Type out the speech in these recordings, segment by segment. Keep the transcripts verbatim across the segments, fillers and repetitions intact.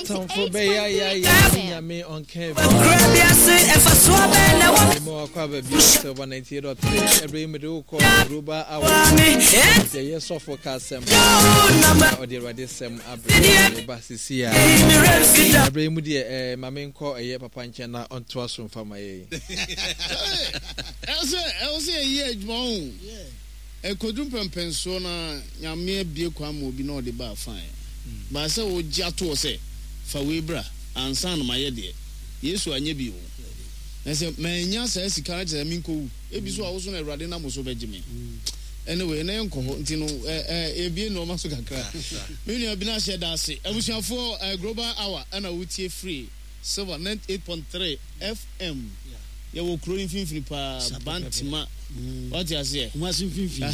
Atamfo bɛyɛ ayɛ Nyame ɔnka bi. Mo akɔ aba bi Silver ninety-eight point three. Ɛberɛ yi mede wokɔ Global Hour. Yɛyɛ sɔfo ka asɛm na ɔde Awurade sɛm abrɛ ba sisi a. Ɛberɛ yi mu deɛ ɛɛ ma menkɔ ɛyɛ papa nkyɛn na ɔntoa so mfa ma yɛn. ɛwɔ sɛ ɛwɔ sɛ yɛyɛ adwuma ho ɛkɔduru mpɛmpɛnsoɔ na Nyame abie kwan ma obi na ɔde ba, fine, baa sɛ wogye atoɔ sɛ fa wei bra ansa na mayɛ deɛ Yesu anyɛ bi o. Na sɛ manya saa sika no, kyerɛ sɛ menkɔwu ebi so a wo so na Awurade nam wo so bɛgye me. Anyway, na yɛnkɔ hɔ nti no yɛbie nnoɔma so kakra. Me nua bi no ahyɛ da ase. Abusuafoɔ, Global Hour ɛna wotie free Silver ninety-eight point three F M. Yɛwɔ kuro no mfimfini paa, Bantama, wate aseɛ? Kumasi mfimfini.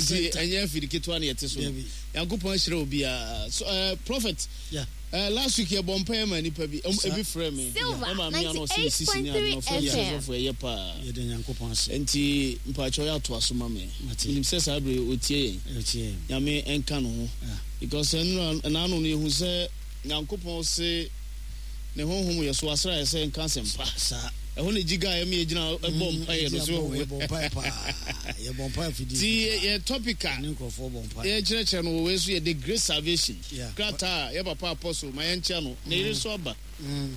Nti ɛnyɛ afidi ketewa ne yɛte so no. Nyankopɔn ahyerɛ obiara so. uh, prophet Yeah. uh, last week yɛbɔ mpaeɛ ma nipa bi, ɛm- ebi frɛ me Silver ɛma me ano ɔsɛ ne sisi ne ade na ɔfrɛ me sɛ sɔfo, ɛyɛ paa. Yɛde Nyankopɔn ase. Nti mpakyɛw, yɛ atoa so ma me. Mate. Menim sɛ saa bere ɔtie yɛn. Ɛtie. Nyame ɛnka no ho Yeah. because ɛnora ɛnaano no yɛhu sɛ Nyankopɔn se ne honhom yɛ so asra yɛ sɛ nka asɛmpa. Saa. Ɛhɔ ne gyiga a ɛma yɛgyina ɛbɔ mpaeɛ no so. Yɛbɔ mpaeɛ paa, yɛbɔ mpaeɛ fidi. Nti yɛ yɛ topic a ne nkurɔfoɔ bɔ mpaeɛ. Yɛkyerɛkyerɛ no wɔ wei so yɛ the great salvation. Yeah. Krataa a yɛ papa Apostle ma yɛnkyia no ne yere so aba.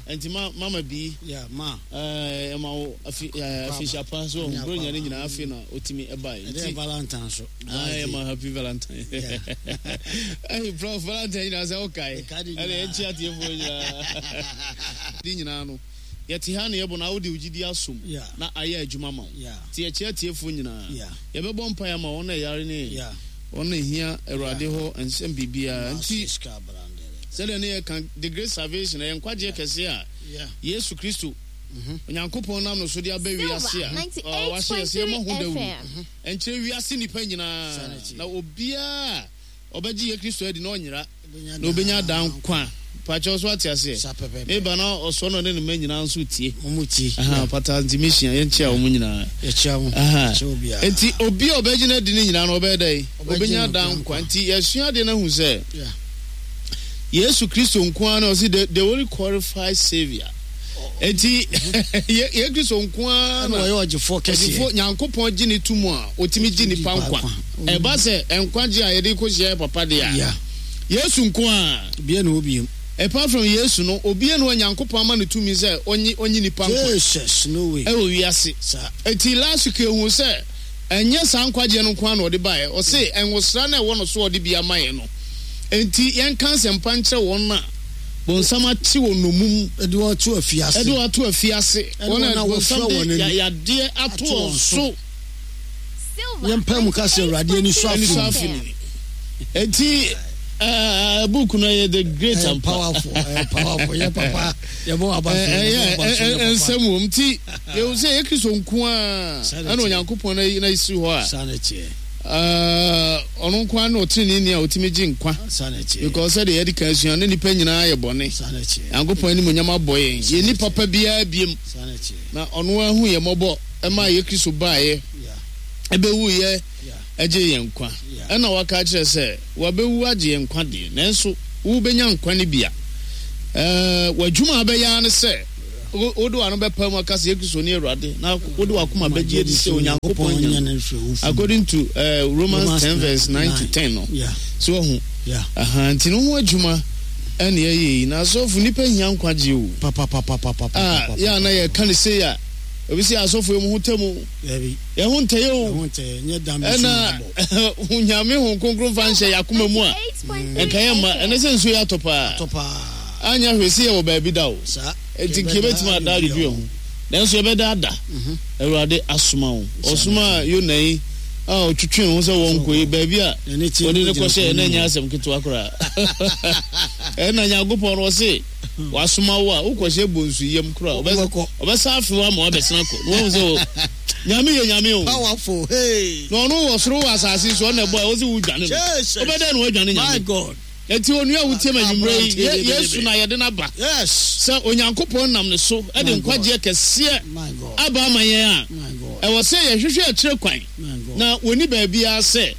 Nti ma mama bi Yeah, ma. ɛɛ ɛma wo afi ɛɛ afihyia pa so Ɛne ɔho buro nyane akwaaba. nyinaa afi na otimi ɛbae. Ɛdɛ Nti Valentine so. Ayi ma happy Valentine. Yeah. Ɛyi, Prof, Valentine nyinaa sɛ ɔkae. Ɛka de ɛna nyinaa. yɛnkyi atiefoɔ nyinaa de nyinaa no yɛte ha ne yɛbɔ na wode wo gyidi asom Yeah. na ayɛ adwuma ma wo. Yeah. Nti yɛkyerɛ atiefoɔ nyinaa, Yeah. yɛbɛbɔ mpaeɛ ama wɔn a ɛyare ne Yeah. wɔn a ɛhia Awurade hɔ nsɛm biribiara. Nti Sika brandere. sɛdeɛ ne yɛka the great salvation, ɛyɛ nkwagyeɛ kɛseɛ a Yeah. Yesu Kristo, Onyankopɔn nam no so de aba wiase a Silver ɔ, wahyɛ yɛ sɛ yɛmmɔ ho ninety-eight point three dawuro F M. ɛnkyerɛ wiase nnipa nyinaa, na obiaa ɔbɛgye yɛ Kristo adi na ɔnyera na obɛnya daa nkwa. Pakyɛw, so ate aseɛ? Sa pɛpɛpɛ. Meba na ɔsɔ no ne ne mma nyinaa nso tie. Mo tie. Aha, pata nti mehyia yɛnkyia wɔ mu nyinaa. Yɛkyia mo. Aha. Yɛkyia obiara. Nti obi a ɔbɛgye no adi no nyinaa no ɔbɛyɛ dɛn? Ɔbɛgye ɔbɛnya no daa daa nkwa. Nti yɛsua adeɛ no ahu sɛ Yeah. Yesu Kristo nko ara na ɔsi the the only qualified saviour. Nti yɛ yɛ Kristo nko ara ɛna na ɔyɛ ɔgyefoɔ kɛseɛ. ɔgyefo Nyankopɔn gye ne to mu a ɔtumi gye nipa Nipa nkwa. nkwa. Ɛba sɛ nkwagye a yɛde kɔhyia yɛ papa deɛ a, Yeah. Yesu nko ara. Bia na obiem. Apart from Yesu no, obiara na Onyankopɔn ama no tumi sɛ ɔnye ɔnye nipa nkwa Jesus, no way. ɛwɔ wiase. Saa. Eti last week ehu sɛ ɛnyɛ saa nkwagyeɛ no nko ara na ɔde baeɛ. Ɔse ɛnwosra no a ɛwɔ no so a ɔde bi ama yɛn no, enti yɛnka nsɛmpa nkyerɛ wɔn a bonsam akye wɔ nomum, ɛde wɔn to afiase. Ɛde wɔn ato afiase, ɛne wɔn wɔn a a bonsam wɔfrɛ de wɔn ani ya- yadeɛ ato ato wɔn wɔn so. Silver Yɛmpa mu ka sɛ Awurade ani sɔ ani so afe afe ni. Enti ɛɛ book no yɛ the great ɛyɛ and powerful, ɛyɛ powerful. Yɛ papa, yɛbɔ waba so, yɛbɔ waba so, yɛ papa. Nsɛm wɔ mu. Nti yɛhu sɛ yɛ Kristo nko a Saa na ɛna ɛteɛ. Onyankopɔn na na esi hɔ a Saa na ɛteɛ. ɛɛ, ɔno nko ara na ɔtenenee a ɔtumi gye nkwa Saa na ɛteɛ. because sɛdeɛ yɛde kan sua ne nipa nyinaa yɛ bɔne. Saa na ɛteɛ. Nyankopɔn anim onyam abɔ yɛn, yɛnni papa biara biem. Saa na ɛteɛ. Na ɔno ahu yɛ mmɔbɔ ɛma yɛ Kristo baeɛ, Yeah. ɛbɛwuyɛ, Yeah. ɛgye yɛn nkwa. Yeah. Ɛna waka kyerɛ sɛ wabɛwu agye yɛn nkwa deɛ, nanso wobɛnya nkwa no bi a ɛɛ w'adwuma a bɛyɛ ara ne sɛ wo- wode w'ano bɛpa mu aka sɛ yɛ Kristo ne Awurade na wode w'akoma bɛgye adi sɛ Onyankopɔn nya no mfiri wo fam. According to uh, Romans Romans ten verse nine to nine. ten no. Yeah. So wahu? Yeah. Aha, nti no ho adwuma ɛne ɛyɛ yi na asɔfo nipa hia nkwagye o. Papa papa papa a papa. Yɛ a na yɛka ne sei a obi sɛ asɔfo yi mu ho tɛ mu. Dabi. Yɛn ho ntɛyɛ o. Ɛho ntɛ nyɛ dan bi so na ɛna bɔ. Nyame ho Kronkron fa nhyɛ yɛ akoma mu a ɛnka yɛ mma ɛnɛ sɛ nsuo yɛ atɔ paa. Atɔ paa. Anya hwɛ sɛ yɛwɔ baabi da o. Saa. Enti nka yɛbɛtumi ada adwodwo yɛn ho, nanso yɛbɛda ada. Awurade asoma wo. Ɔsoma Yona yi a ɔtwetwe ho sɛ wɔnkɔ yi baabi a N'ani tie wɔde no ne gyina kɔhyɛ kwan ɛna mu. nyɛ asɛm ketewa koraa. Ɛna Nyankopɔn no ɔse wasoma wo a wokɔhyɛ bonsu yam koraa ɔbɛ- Wobɛkɔ. ɔbɛsa afe wo ama wabɛsena kɔ na wahu sɛ wɔ- Nyame yɛ Nyame o. Powerful. Hey. Na ɔno wɔ soro, wɔ asase so, ɔna ɛbɔ a ɔse wodwane no, Jesus. wobɛdɛn na woadwane My Nyame? God. Enti onua a wotie ma anwummerɛ yi, Ye- Abrante. Yesu na yɛde no aba Yes. sɛ Onyankopɔn nam ne so de My God. nkwagyeɛ kɛseɛ My God. aba ama yɛn a My God. ɛwɔ sɛ yɛhwehwɛ akyerɛ kwan My God. na wɔni baabiara sɛ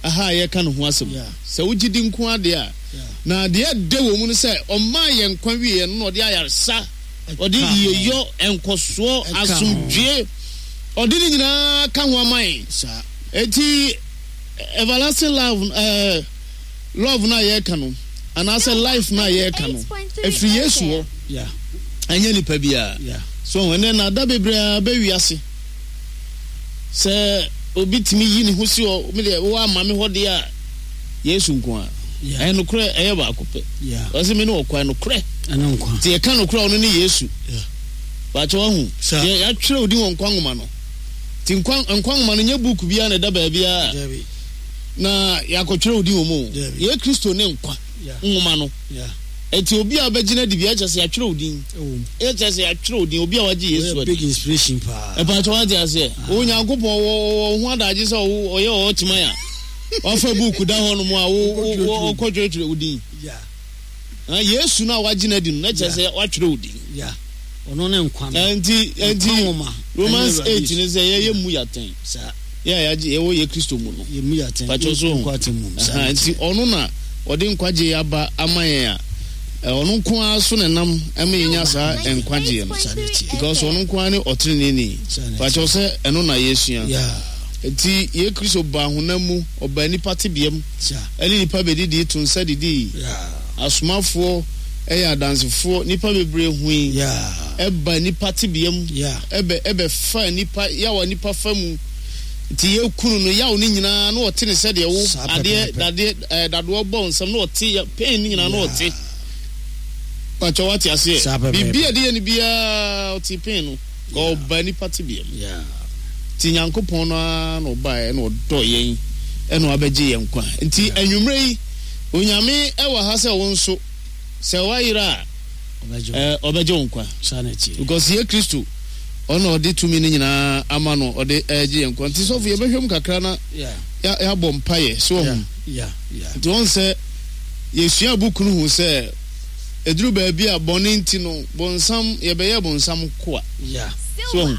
aha a yɛka ne ho asɛm. Yeah. Sɛ wogye di nko adeɛ a Na deɛ ɛdɛ wɔ mu no sɛ ɔmaa yɛn nkwa wieɛ no na ɔde ayaresa, ɔde yiyeyɔ, nkɔsoɔ, asomdwie, ɔde ne nyinaa ka ho ama yɛn. Enti everlasting love ɛɛ love no a yɛreka no anaasɛ life no a yɛreka no ɛfiri Yesu hɔ, ɛnyɛ nipa biara. So ɛnɛ na ada bebree a bɛ wiase sɛ obi tumi yi ne ho si hɔ, me deɛ wo ama me hɔ deɛ a Yesu nko a. Ɛyɛ nokorɛ, ɛyɛ baako pɛ. Ɔsɛ me ne ɔkwan nokorɛ. Nti yɛka nokorɛ ɔno ne Yesu. Baakyɛ wahu. Yɛatwerɛ odin wɔ nkwa nwoma no. Nti nkwa nkwa nwoma no nyɛ book biara na ɛda baabiara na yɛakɔtwerɛ odin wɔ mu. Yɛ Kristo ne nkwa nwoma no. Nti obi a ɔbɛgyina di bi ɛkyɛ sɛ yɛatwerɛ odin. Ɛkyɛ sɛ yɛatwerɛ odin obi a wagye Yesu adi. Big inspiration paa. Ɛpaakyɛ wate aseɛ. Onyankopɔn wɔ wɔ ho adagye sɛ ɔyɛ ɔkyema ya. Wafa buku da hɔ nom a wo wokɔtwerɛtwerɛ wo din. Yesu no a wagye no adi no na kyerɛ sɛ watwerɛ wo din. Ɔno ne nkwa no. Nti nti Romans eight ne sɛ yɛyɛ mu yɛatɛn. Yɛ a yɛagye yɛwɔ yɛ Kristo mu no. Yɛ mu yɛatɛn. Patro so. Nti ɔno na ɔde nkwagye aba ama yɛn a ɔno nko ara so na nam ɛma yɛnya saa nkwagyeɛ no. Because ɔno nko ara ne ɔteneneeni. Patro sɛ ɛno na yɛsua. Nti yɛ Kristo baa honam mu, ɔbaa nipa tebea mu, ɛne nipa bɛdidi to nsa didi. Asomafoɔ ɛyɛ adansefoɔ, nipa bebree hui. Ɛba nipa tebea mu, ɛbɛ ɛbɛfa nipa yawa nipa fa mu. Nti yɛ kunu no yaw ne nyinaa na ɔte ne sɛdeɛ wo adeɛ dadeɛ ɛɛ dadoɔ bɔ nsam na ɔte ya pain ne nyinaa na ɔte. Pàtó wate aseɛ. Biribi a ɛde yɛ no biara ɔte pain no. Ɔba nipa tebea mu. Nti Nyankopɔn no ara na ɔbaeɛ na ɔdɔ yɛn ɛna wabɛgye yɛn nkwa. Nti anwummerɛ yi Onyame ɛwɔ ha sɛ wo nso sɛ woayera a ɔbɛgye wo nkwa. Because yɛ Kristo ɔna ɔde tumi no nyinaa ama no ɔde ɛgye yɛn nkwa. Nti sɔfo yɛbɛhwɛ mu kakra na yɛabɔ mpaeɛ so ɔho. Nti wɔn sɛ yɛsua buku no hu sɛ ɛduru baabi a bɔne nti no bonsam yɛbɛyɛ bonsam koa. So ɔho.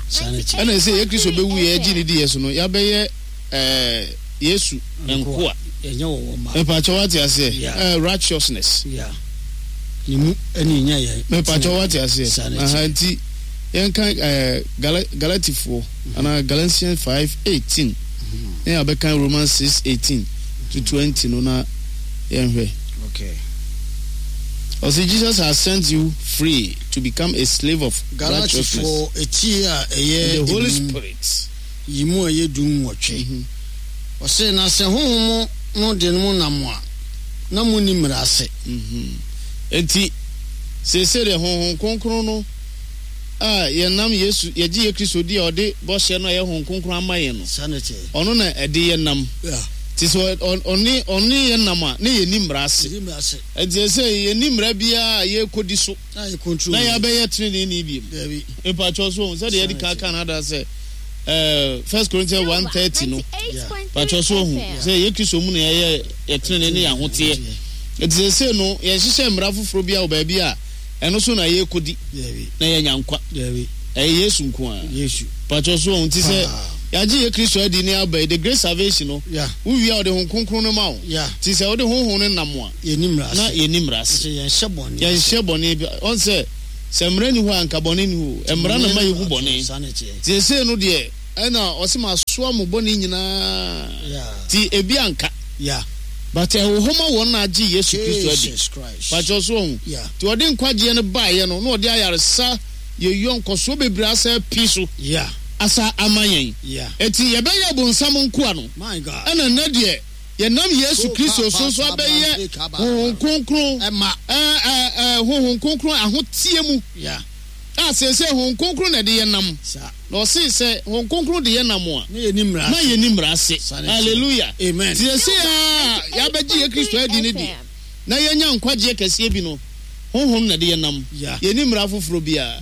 Ɛna sɛ yɛ Kristo bɛwu yɛ gye ne di yɛ so no yɛabɛyɛ ɛɛ Yesu nkoa. Mepakyɛ wate aseɛ. Righteousness. Mepakyɛ wate aseɛ. Aha nti yɛnka Galatifoɔ anaa Galatians five eighteen. Ne yɛabɛka Romans six eighteen to twenty no na yɛnhwɛ. Okay. Ɔse Jesus has sent you free to become a slave of righteousness. Galatifoɔ eti a ɛyɛ the Holy Spirit. Yi mu a ɛyɛ du nwɔtwe. Ɔse na sɛ honhom no de mo nam a na mo ni mmara ase. Enti seesei deɛ honhom kronkron no a yɛnam Yesu yɛgye yɛ Kristo di a ɔde bɔhyɛ no a ɛyɛ honhom kronkron ama yɛn no. Ɔno na ɛde yɛn nam. Nti sɛ ɔne ɔne yɛn nam a na yɛni mmara ase. Enti sɛ yɛni mmara biara a yɛrekɔdi so na yɛabɛyɛ teneneeni bio. Mpakyɛw so sɛdeɛ yɛde kan kan ada sɛ First Corinthians one thirty no pakyɛw so hu sɛ yɛ Kristo mu na yɛyɛ yɛtenene ne yɛahoteɛ. Enti sɛ no yɛhyehyɛ mmara foforɔ bi a wɔ baabi a ɛno so na yɛrekɔdi na yɛnya nkwa. Ɛyɛ Yesu nko ara. Pakyɛw so hu nti sɛ yɛagye yɛ Kristo adi ne aba yi the great salvation no wowie a ɔde Honhom Kronkron no ma wo. Nti sɛ wode Honhom no nam a na yɛnni mmara ase. Yɛnhyɛ bɔne bi ɔn sɛ sɛ mmara ni hɔ a nka bɔne ni hɔ. Mmara na ma yɛhu bɔne. Seesei no deɛ ɛna ɔse ma soa mo bɔne nyinaa. Nti ebi anka. But ɛwɔ hɔ ma wɔn na agye Yesu Kristo adi. Pakyɛ so ɔho. Nti ɔde nkwagyeɛ no baeɛ no na ɔde ayaresa yɛyɔ nkɔsoɔ bebree asa api so. Asa ama yɛn. Enti yɛbɛyɛ bonsam nkoa no. Ɛna nnɛ deɛ yɛnam Yesu Kristo so nso abɛyɛ Honhom Kronkron Honhom Kronkron ahoteɛ mu. A seesei Honhom Kronkron na ɛde yɛn nam. Na ɔse sɛ Honhom Kronkron de yɛn nam a na yɛnni mmara ase. Hallelujah. Amen. Nti seesei a yɛabɛgye yɛ Kristo adi no deɛ na yɛnya nkwagyeɛ kɛseɛ bi no Honhom na ɛde yɛn nam. Yɛnni mmara foforɔ biara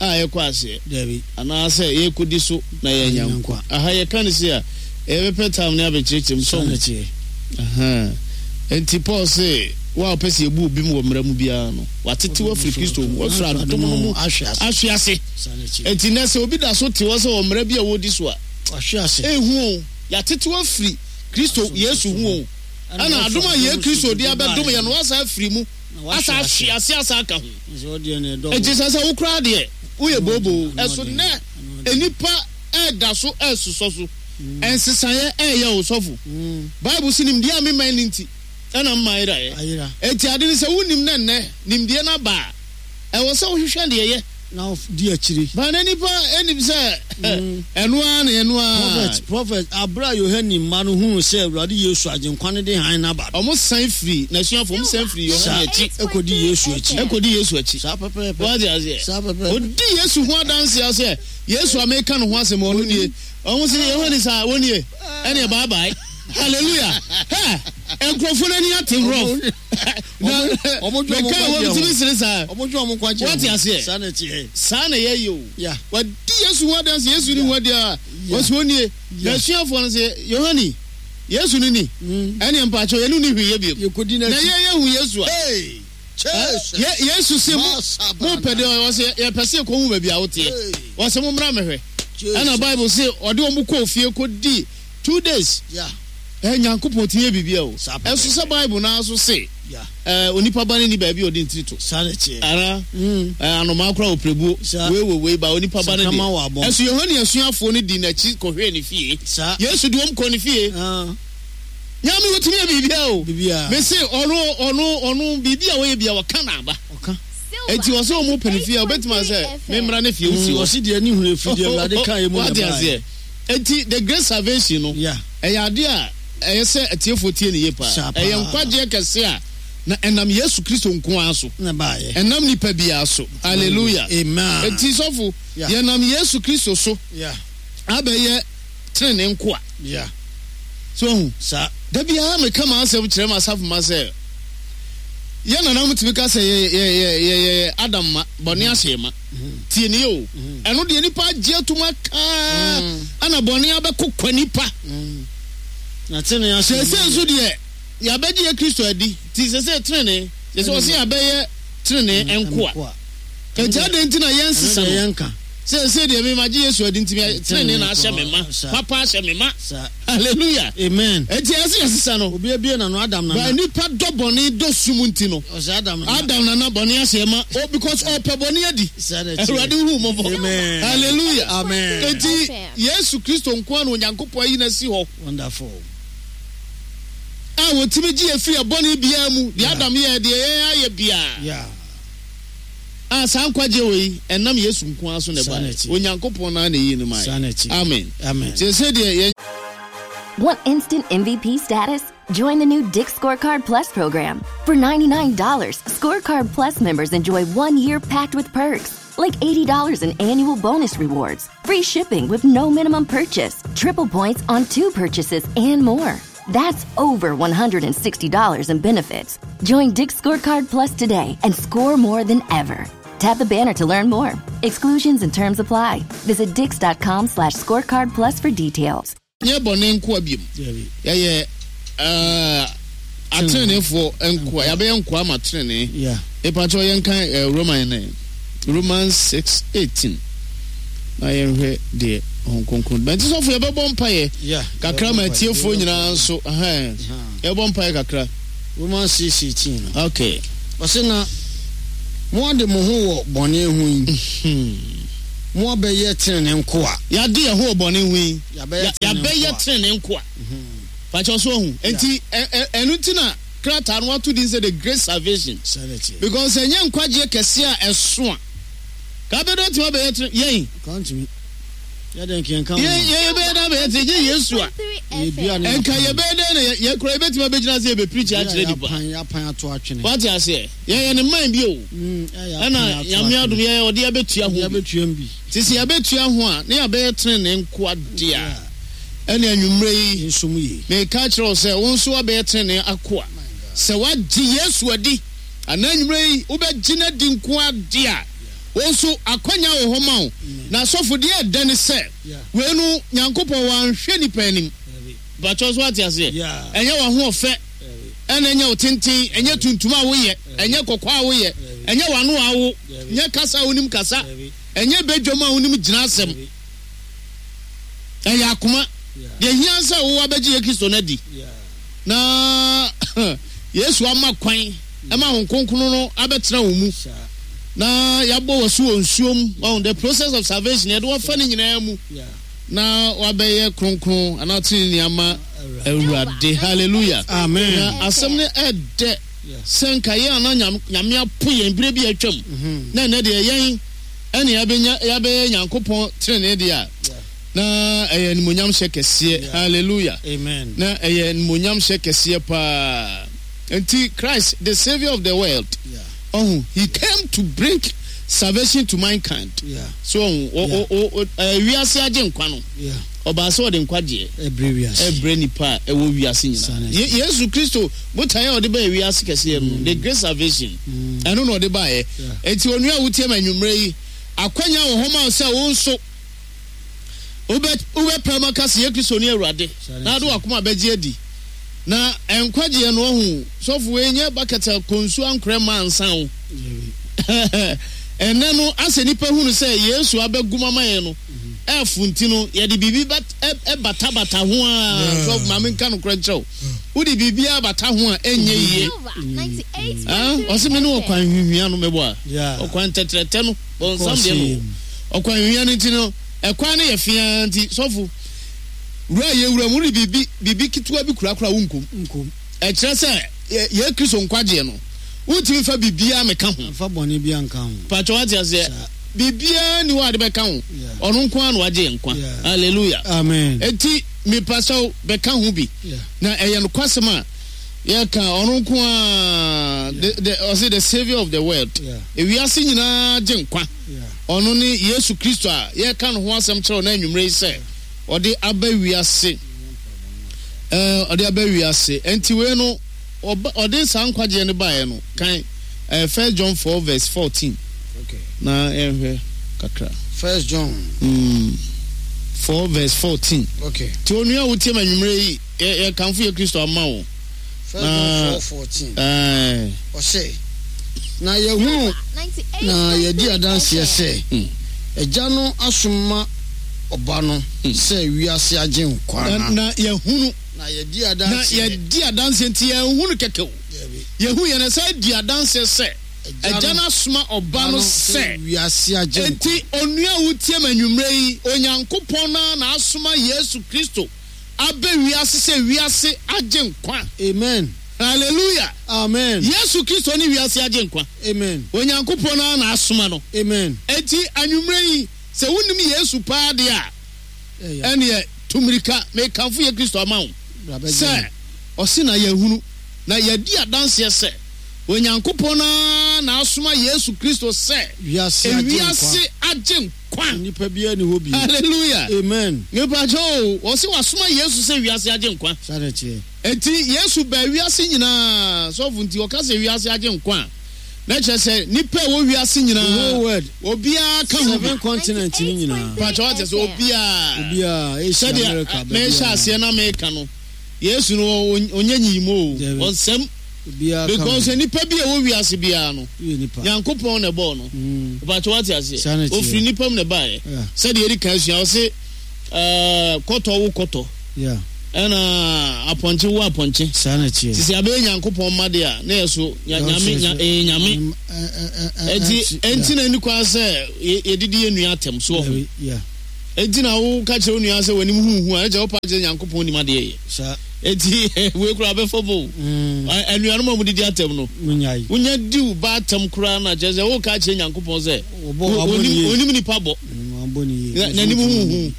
a yɛkɔ aseɛ anaasɛ yɛkɔdi so na yɛnya nkwa. Aha yɛka no si a yɛbɛpɛ tam ne abɛkyerɛkyerɛ mu sɔn. Enti Paul se wo a wopɛ sɛ yɛbu obi mu wɔ mmara mu biara no watete wafiri Kristo mu wafiri adom no mu ahwe ase. Enti nɛ sɛ obi da so te hɔ sɛ wɔ mmara bi a wɔdi so a ɛhu o yɛatete wafiri Kristo Yesu ho o. Ɛna adom a yɛ Kristo de abɛdom yɛ no, wasa afiri mu, asa ahwe ase, asa aka ho. Enti sɛ sɛ wo koraa deɛ, woyɛ booboo. Ɛso nnɛ, nnipa ɛda so ɛsosɔ so. Ɛnsesaeɛ ɛyɛ wo sɔfo. Bible se nimdeɛ a mema no nti, ɛna mma ayeraeɛ. Enti ade ne sɛ wonim na nnɛ nimdeɛ no aba a, ɛwɔ sɛ wohwehwɛ deɛ yɛ. Na di akyire. Ba na nipa anim sɛ ɛno ara na ɛno ara. Prophet, prophet, abere a Yohane mma no hunu sɛ Awurade Yesu agyenkwa no de hann n'aba. Ɔmo san firi n'asuafo, ɔmo san firi Yohane akyi. Ekodi Yesu akyi. Ekodi Yesu akyi. Saa pɛpɛɛpɛ. Wate aseɛ. Saa pɛpɛɛpɛ. Odi Yesu ho adanse sɛ Yesu a meka ne ho asɛm ɔno nie. Ɔmo sɛ Yohane saa wɔn nie. Ɛne bye bye. Hallelujah. Hɛ, nkurɔfoɔ n'ani ate rough. Meka wɔ bitumi sere saa. Wate aseɛ. Saa na yɛyɛ o. Wadi Yesu ho adanse, Yesu ni ho adi a wɔsi wɔn nie. Na asuafoɔ no sɛ Yohane, Yesu ni ni. Ɛne mpakyɛw yɛne ni hwee yɛ bio. Na yɛ yɛ hu Yesu a. Yesu se mo mo pɛ deɛ ɔsɛ yɛpɛ sɛ yɛkɔhu baabi a woteɛ. Wɔsɛ mo mmra mɛhwɛ. Ɛna Bible se ɔde wɔn kɔɔ fie kɔdi two days. Ɛ Nyankopɔn ti yɛ biribi o. Ɛso sɛ Bible naa so se ɛ onipa ba ne ni baabi a ɔde ntiri to. Ara ɛ anomaa kora oprebuo wei wɔ wei ba onipa ba ne de. Ɛso Yohane asuafoɔ no di n'akyi kɔhwɛɛ ne fie. Yesu de wɔn kɔ ne fie. Nyame wotumi yɛ biribi o. Mese ɔno ɔno ɔno biribi a wɔyɛ bia wɔka na aba. Eti ɔsɛ ɔmo pɛ ne fie a obetuma sɛ memmra ne fie wosi hɔ. Ɔsi deɛ ne hunu efi deɛ Awurade kan emu na ɛbaa. Eti the great salvation no ɛyɛ ade a ɛyɛ sɛ atiefoɔ tie ne yie paa. Ɛyɛ nkwagyeɛ kɛse a na ɛnam Yesu Kristo nko ara so. Ɛnam nipa biara so. Hallelujah. Amen. Eti sɔfo yɛnam Yesu Kristo so abɛyɛ tenene nkoa. So hu. Da biara meka m'asɛm kyerɛ m'asafo ma sɛ yɛn nananom tumi ka sɛ yɛ yɛ yɛ yɛ yɛ Adam ma bɔne ahyɛ ma. Tie ne o. Ɛno deɛ nipa agye atum aka ɛna bɔne abɛkokwa nipa. Na tenene ahyɛ. Sɛsɛ nso deɛ yɛabɛgye yɛ Kristo adi ti sɛsɛ tenene sɛsɛ ɔsɛ yɛabɛyɛ tenene nkoa. Enti adɛn nti na yɛnsesa no? Sɛsɛ deɛ me magye Yesu adi nti tenene na ahyɛ me ma. Papa ahyɛ me ma. Hallelujah. Amen. Enti ɛsɛ yɛsesa no. Obi abie na no Adam nana. Ba nipa dɔ bɔne dɔ sum nti no. Ɔsɛ Adam nana. Adam nana bɔne ahyɛ ma. Oh, because ɔpɛ bɔne adi. Awurade hu mɔbɔ. Amen. Hallelujah. Amen. Enti Yesu Kristo nko ara na Onyankopɔn ayi no asi hɔ. Wonderful. A wɔtumi gye efiri ɛbɔne biara mu. Deɛ Adam yɛ deɛ yɛn ayɛ biara. Yeah. A saa nkwagye wɔ yi ɛnam Yesu nko ara so na ɛbaeɛ. Onyankopɔn naa na eyi no maa yɛ. Amen. Amen. Sɛ deɛ yɛn. Want instant M V P status? Join the new Dick's Scorecard Plus program. For ninety-nine dollars, Scorecard Plus members enjoy one year packed with perks, like eighty dollars in annual bonus rewards, free shipping with no minimum purchase, triple points on two purchases, and more. That's over one hundred sixty dollars in benefits. Join Dick's Scorecard Plus today and score more than ever. Tap the banner to learn more. Exclusions and terms apply. Visit dicks.com slash scorecard plus for details. Nye bɔne nkoa biom. Yɛyɛ atenenefoɔ nkoa. Yɛabɛyɛ nkoa ma tenene. Mepakyɛw yɛnkan Roman ne Romans six eighteen. Na yɛnhwɛ deɛ Honhom Kronkron. Bɛnti sɔfo yɛbɛbɔ mpaeɛ kakra ma atiefoɔ nyinaa nso. Yɛbɛbɔ mpaeɛ kakra. Romans six eighteen. Okay. Ɔse na mo ade mo ho wɔ bɔne ho yi. Mo abɛyɛ tenene nkoa. Yɛade yɛn ho wɔ bɔne ho yi. Yɛabɛyɛ tenene nkoa. Pakyɛw so ɔhu. Enti ɛno nti na krataa no wato din sɛ the great salvation. Because ɛnyɛ nkwagyeɛ kɛse a ɛso a. Ka bɛdɔ ntoma bɛyɛ tenene yɛn. Yɛn yɛn bɛyɛ dɛ bɛyɛ tenene gye Yesu a. Nka yɛbɛyɛ dɛ na yɛ kura yɛbɛtumi abɛgyina sɛ yɛbɛpirikyi akyerɛ nipa. Wate aseɛ. Yɛyɛ ne man bi o. Ɛna Nyame adom yɛyɛ ɔde abɛtua ho bi. Nti sɛ yɛbɛtua ho a na yɛabɛyɛ tenene nkoa deɛ a ɛne anwummerɛ yi meka kyerɛ wo sɛ wo nso woabɛyɛ tenene akoa. Sɛ woagye Yesu adi anaa anwummerɛ yi wobɛgye no adi nkoa deɛ a wo nso akwanya wɔ hɔ ma wo. Na asɔfo deɛ ɛdɛ ne sɛ wei no Nyankopɔn wanhwɛ nipa anim. Mpakyɛw so ate aseɛ? Ɛnyɛ w'ahoɔfɛ ɛna ɛnyɛ wo tenten, ɛnyɛ tuntum a woyɛ, ɛnyɛ kɔkɔɔ a woyɛ, ɛnyɛ w'ano a wo, nyɛ kasa a wonim kasa, ɛnyɛ badwam a wonim gyina asɛm. Ɛyɛ akoma. Deɛ hia sɛ wo abɛgye yɛ Kristo no adi. Na Yesu ama kwan ɛma Honhom Kronkron no abɛtena wo mu. Na yɛabɔ wɔ so wɔ nsuom. Ɔn the process of salvation yɛde wɔfa ne nyinaa mu. Na wabɛyɛ kronkron anaa tenenee ama Awurade. Hallelujah. Amen. Na asɛm no ɛdɛ sɛ nka yɛn ana Nyame apo yɛn bere bi atwam. Na ɛnɛ deɛ yɛn ɛne yɛabɛnya yɛabɛyɛ Nyankopɔn tenenee deɛ a na ɛyɛ animuonyam hyɛ kɛseɛ. Hallelujah. Amen. Na ɛyɛ animuonyam hyɛ kɛseɛ paa. Nti Christ, the Savior of the world, Yeah. oh, he came to bring salvation to mankind. Yeah. So oh, o o wiase agye nkwa no. Yeah. Ɔbaa sɛ ɔde nkwagyeɛ Ɛbrɛ wiase. ɛbrɛ nipa a ɛwɔ wiase nyinaa. Ye Yesu Kristo botaeɛ a ɔde baa wiase kɛseɛ no, the great salvation. Ɛno na ɔde baeɛ. Enti onua a wotie ma anwummerɛ yi, akwanya wɔ hɔ ma wo sɛ wo nso wobɛ wobɛpɛ ma ka sɛ yɛ Kristo ne Awurade na ade wakoma bɛgye adi. Na nkwagyeɛ no ɔho sɔfo wei nyɛ bucket a konsu ankorɛ ma ansa wo. Ɛnɛ no asɛ nipa hunu sɛ Yesu abɛgum ama yɛn no ɛfo nti no yɛde biribi ɛbatabata ho a sɔfo maame nka no korɛ nkyerɛw wode biribi abata ho a ɛnyɛ yie. Ɔsɛ me ne ɔkwan hwihwia no mɛbɔ a ɔkwan tɛtrɛtɛ no bɔnsam deɛ no ɔkwan hwihwia no nti no ɛkwan no yɛ fia nti sɔfo wura yɛ wura mu de biribi biribi ketewa bi kurakura wo nkom Nkom. ɛkyerɛ sɛ yɛ Kristo nkwagyeɛ no wontumi fa biribiara meka ho. Fa bɔne bi anka ho. Patro wate aseɛ biribiara ni hɔ a de bɛka ho. Ɔno nko ara na wagye yɛn nkwa. Hallelujah. Amen. Enti mepa sɛ bɛka ho bi. Na ɛyɛ nokwasɛm a yɛka ɔno nko ara the ɔse the Savior of the world. Ewiase nyinaa gye nkwa. Ɔno ne Yesu Kristo a yɛka no ho asɛm kyerɛw na anwummerɛ yi sɛ ɔde aba wiase. Ɛɛ ɔde aba wiase. Enti wei no ɔde saa nkwagyeɛ no baeɛ no kan ɛɛ First John four verse fourteen. Okay. Na yɛnhwɛ kakra. First John. Mm, four verse fourteen. Okay. Ti onua a wotie ma anwummerɛ yi yɛ yɛkamfo yɛ Kristo ama wo. First John four fourteen. Ɛɛ. Ɔse na yɛhunu na yɛdi adanseɛ sɛ Agya no asoma ɔba no sɛ wiase agye nkwa na. Na yɛhunu. Na yɛdi adanseɛ. Na yɛdi adanseɛ nti yɛnhunu kɛkɛ o. Yɛhu yɛn sɛ di adanseɛ sɛ Agya no asoma ɔba no sɛ wiase agye nkwa. Enti onua a wotie ma anwummerɛ yi, Onyankopɔn na na asoma Yesu Kristo abɛ wiase sɛ wiase agye nkwa. Amen. Hallelujah. Amen. Yesu Kristo ne wiase agye nkwa. Amen. Onyankopɔn na na asoma no. Amen. Enti anwummerɛ yi sɛ wonim Yesu paa deɛ a ɛneɛ tumirika mekamfo yɛ Kristo ama wo sɛ ɔse na yɛhunu na yɛdi adanseɛ sɛ Onyankopɔn na na asoma Yesu Kristo sɛ wiase agye nkwa. Nipa biara ni hɔ bi. Hallelujah. Amen. Nipa kyɛ o, ɔse wasoma Yesu sɛ wiase agye nkwa. Saa na ɛteɛ. Enti Yesu baa wiase nyinaa sɔfo nti ɔka sɛ wiase agye nkwa a na kyerɛ sɛ nipa a ɛwɔ wiase nyinaa The whole world. Obiara ka ho. Seven continent ni nyinaa. Pakyɛ wate sɛ obiara. Obiara Asia, America, Sɛdeɛ mehyɛ aseɛ na meka no Yesu no ɔnyɛ nyiyimu o, ɔnsɛm. Because nipa bi a ɛwɔ wiase biara no Nyankopɔn na ɛbɔɔ no. Pakyɛ wate aseɛ ofiri nipa mu na ɛbaeɛ. Sɛdeɛ yɛdi kan asua ɔse kɔtɔ wo kɔtɔ ɛna apɔnkye wo apɔnkye. Sisi abɛyɛ Nyankopɔn mma deɛ a na yɛ so nyame ɛyɛ nyame. Enti enti na ni kwan sɛ yɛdidi yɛ nua atɛm so wɔ ho. Enti na wo ka kyerɛ wo nua sɛ w'anim huhu a ɛkyɛ wo pa kyerɛ Nyankopɔn nim adeɛ yɛ. Enti wei koraa bɛfa bo. Anuanom a wɔdidi atɛm no wonya di wo ba atɛm koraa na kyerɛ sɛ wo ka kyerɛ Nyankopɔn sɛ onim nipa bɔ n'anim huhu.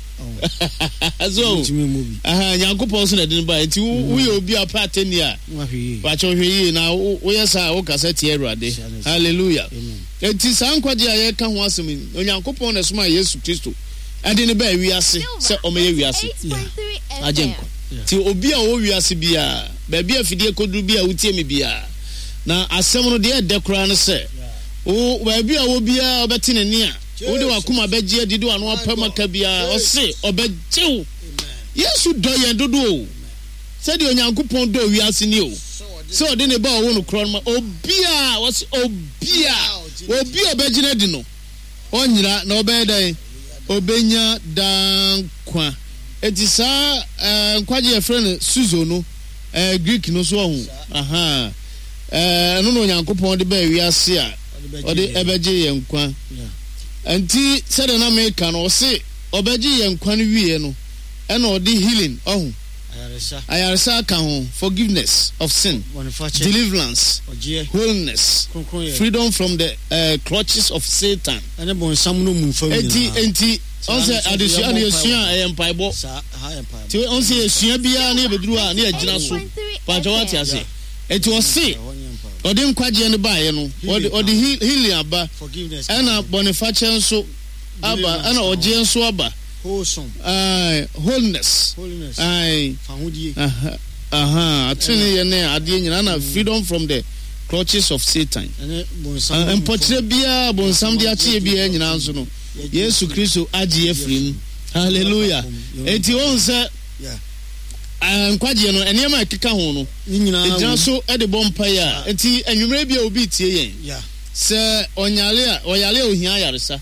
So Nyankopɔn so na ɛde no ba. Enti woyɛ obi a pɛ atɛnni a wakyɛ hwɛ yie na woyɛ saa a wokasa tia Awurade. Hallelujah. Enti saa nkwagye a yɛka ho asɛm yi, Onyankopɔn na ɛsomaa Yesu Kristo ɛde ne baa wiase sɛ ɔmɛyɛ wiase agye nkwa. Nti obi a ɔwɔ wiase biara, baabi a fidie kɔduru bi a wotie me biara, na asɛm no deɛ ɛdɛ koraa no sɛ wo baabi a wɔ biara ɔbɛte ne nne a wode wakoma bɛgye adi de wano apam aka biara ɔse ɔbɛgye wo. Yesu dɔ yɛn dodo o. Sɛdeɛ Onyankopɔn dɔ wiase ni o. Sɛ ɔde ne ba ɔwo no korɔ no ma obiara, ɔse obiara, obi a ɔbɛgye no adi no ɔnyera na ɔbɛyɛ dɛn? Ɔbɛnya daa nkwa. Enti saa nkwagye yɛfrɛ no suzo no Ɛɛ Greek no so ɔho. Aha. Ɛɛ ɛno na Onyankopɔn de baa wiase a ɔde ɛbɛgye yɛn nkwa. Nti sɛdeɛ na meka no, ɔse ɔbɛgye yɛn nkwa no wie no, ɛna ɔde healing ɔho. Ayaresa aka ho, forgiveness of sin, deliverance, wholeness, freedom from the uh, clutches of Satan. Enti enti ɔn sɛ adesua no yɛsua a ɛyɛ mpaebɔ. Nti ɔn sɛ yɛsua biara ne yɛbɛduru a ne yɛgyina so. Paatwa wate ase. Enti ɔse ɔde nkwagyeɛ no baeɛ no, ɔde ɔde healing aba, ɛna bɔnefakyɛ nso aba, ɛna ɔgyeɛ nso aba. Aye, wholeness. Aye. Aha, atene yɛ ne adeɛ nyinaa na freedom from the clutches of Satan. Mpɔkyerɛ biara bonsam de akyeɛ biara nyinaa nso no, Yesu Kristo agye afiri mu. Hallelujah. Enti wɔn sɛ nkwagyeɛ no, nneɛma a ɛkeka ho no, ɛgyina so de bɔ mpaeɛ a, enti anwummerɛ bi a obi tie yɛn sɛ ɔnyare a, ɔyare a ohia ayaresa.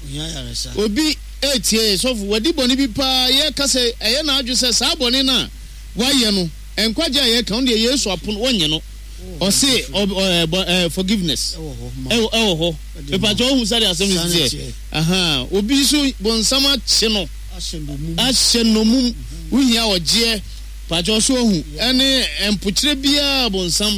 Obi etie yɛn, sɔfo, wadi bɔne bi paa, yɛka sɛ ɛyɛ n'adwe sɛ saa bɔne no a wayɛ no, nkwagye a yɛka no deɛ Yesu apono wɔnyɛ no. Ɔse ɔ forgiveness ɛwɔ hɔ. Mepakyɛ wohu sɛdeɛ asɛm no teɛ. Aha, obi nso bonsam akye no ahyɛ nnommum, wohia ɔgyeɛ. Pakyɛ ɔso ohu ɛne mpokyerɛ biara bonsam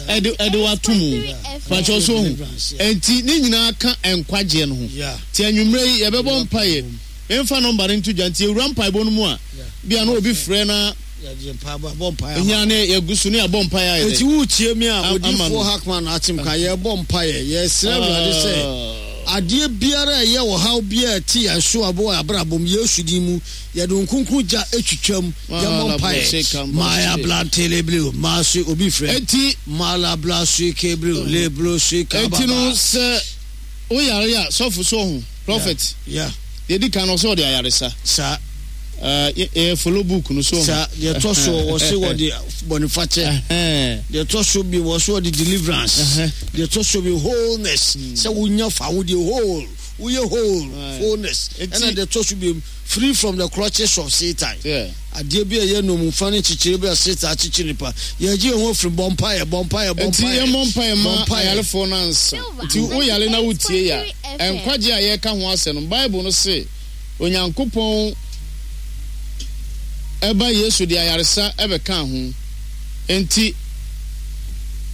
ɛde ɛde wato mu. Pakyɛ ɔso ohu. Enti ne nyinaa ka nkwagyeɛ no ho. Ti anwummerɛ yi yɛbɛbɔ mpaeɛ. Memfa nɔmba no nto dwa nti ewura mpaebɔ no mu a bia na obi frɛ na nya ne yɛgu so ne yɛabɔ mpaeɛ ayɛ dɛ. Enti woretie me a, Odiyifoɔ Hackman Atemka, yɛrebɔ mpaeɛ, yɛresrɛ Awurade sɛ adeɛ biara a ɛyɛ ɔhaw biara a ɛte yɛn so wɔ abrabɔ mu, Yesu din mu, yɛde Honhom Kronkron gya twitwam, yɛmmɔ mpaeɛ. Maya blantelebleo, maase obi frɛ. Enti Malabla suikebreo, leblo suikababa. Enti no sɛ woyare a, sɔfo so ɔho, prophet. Yeah. Deɛ di kan no ɔsɛ ɔde ayaresa. Saa. Yɛ follow book no so. Saa deɛ ɛtɔ so wɔse wɔde bɔnefakyɛ. Deɛ ɛtɔ so bi wɔse wɔde deliverance. Deɛ ɛtɔ so bi wholeness. Sɛ wonya fa wo deɛ whole, woyɛ whole, wholeness. Ɛna deɛ ɛtɔ so bi free from the clutches of Satan. Adeɛ bi a ɛyɛ nnommumfa ne nkyekyere bi a Satan akyekyere nipa. Yɛgye yɛn ho afiri bɔ mpaeɛ, bɔ mpaeɛ, bɔ Nti mpaeɛ. yɛmmɔ mpaeɛ ma Bɔ mpaeɛ. ayarefoɔ no ansa. Nti woyare na wotie yɛ a, nkwagye a yɛreka ho asɛm no, Bible no se Onyankopɔn ɛba Yesu de ayaresa ɛbɛka ho. Nti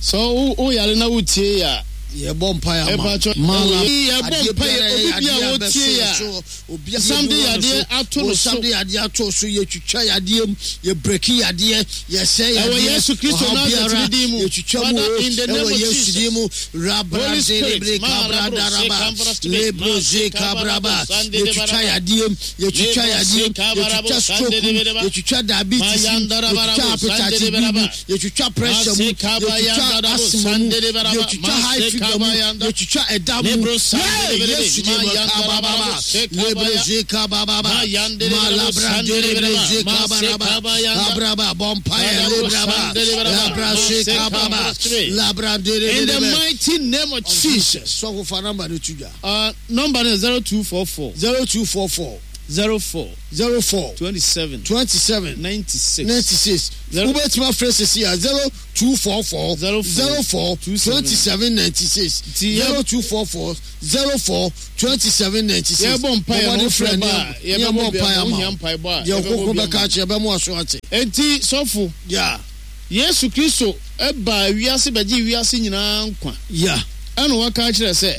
sɛ woyare na wotie yɛ a, Yɛbɔ mpaeɛ ama. Ɛpakyɛ, Mala yɛbɔ adeɛ mpaeɛ, biara obi ɛyɛ bi a adeɛ a wotie bɛso yɛ a, so, obi a Sam de yɛbu yadeɛ no so, ato no bonsam so. de yadeɛ ato so, yɛtwitwa yadeɛ mu, yɛbreki yadeɛ, yɛsɛe Ɛwɔ yadeɛ, Yesu Kristo ɔhaw Nasaret biara, din mu. yɛtwitwa mu Father, o, in the name ɛwɔ of Yesu Jesus. din mu, Holy Spirit, rabraderebre Malabro, kabradaraba, Sekambra, lebroze kabraba, yɛtwitwa yadeɛ mu, yɛtwitwa yadeɛ mu, yɛtwitwa stroke mu, yɛtwitwa diabetes mu, yɛtwitwa hepatitis B mu, yɛtwitwa pressure mu, yɛtwitwa asthma mu, yɛtwitwa high fever mu, yɛtwitwa ɛda mu. Hey, Yesu din mu, kabababa, lebroze kabababa, malabranderebreze kabaraba, abraba, bɔ mpaeɛ, lebraba, labrase kababa, In the labranderebrebe. mighty name of Jesus. Sɔfo fa number no to dwa. Uh, number no zero two four four zero two four four zero four zero four twenty seven twenty seven ninety six ninety six. Zero- Wobɛtumi afrɛ sisi a zero two four four Zero four zero four two seven. twenty seven ninety six Nti yɛ- zero two four four zero four twenty seven ninety six. Yɛbɔ mpaeɛ no, wofrɛ ba a, yɛbɛbɔ bi ama wo, wohia mpaebɔ a, Deɛ yɛbɛbɔ ɔkoko bi bɛka ama wo. akyerɛ bɛmo aso ate. Enti sɔfo, Ya Yesu Kristo ɛbaa wiase bɛgye wiase nyinaa nkwa. ya Ɛna waka akyerɛ sɛ